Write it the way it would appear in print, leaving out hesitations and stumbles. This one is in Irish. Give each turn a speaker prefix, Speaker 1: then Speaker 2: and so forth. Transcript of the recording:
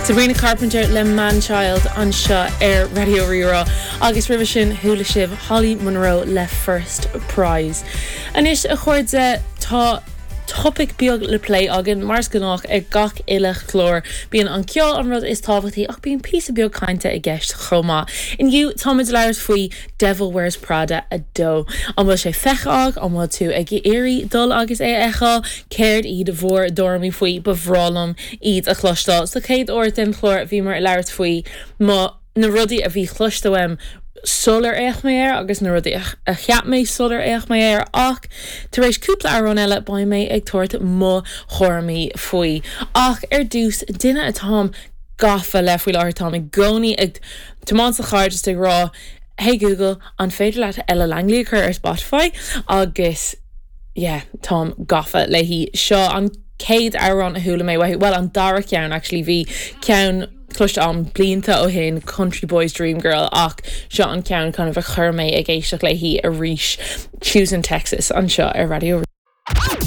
Speaker 1: Sabrina Carpenter le Manchild anseo ar Raidió Rí-Rá agus roimhe sin chuala sibh Holly Monroe le First Prize. Anois a chairde tá topaic beag le plé againn, mar is gnách ag gach uile chlár. Bíonn an ceol an rud is tábhachtaí ach bíonn píosa beag cainte i gceist chomh maith. Inniu táimid ag labhairt faoi Devil Wears Prada 2. An bhfuil sé feicthe agat? An bhfuil tú ag iarraidh dul agus é a fheiceáil? Céard iad bhur dtuairimí faoi? Ba bhreá liom iad a chloisteáil. Sa chéad uair den chlár bhíomar ag labhairt faoi mo na rudaí a bhí cloiste uaim sular fhéach mé air agus na rudaí a cheap mé sular fhéach mé air ach tar éis cúpla amhrán eile beidh mé ag tabhairt mo thuairimí faoi. Ach ar dtús, duine atáim gafa le faoi láthair, táim i gcónaí ag tiomáint sa charr just ag rá Hey Google, an féidir leat Ella Langley a chur ar Spotify? Agus yeah, táim gafa léi. Seo an chéad amhrán a chuala mé uaithi, bhuel an dara ceann actually, bhí ceann cloiste agam blianta ó shin, Country Boy's Dream Girl, ach seo an ceann kind of a chuir mé ag éisteacht léi arís, Choosing Texas anseo ar Raidió.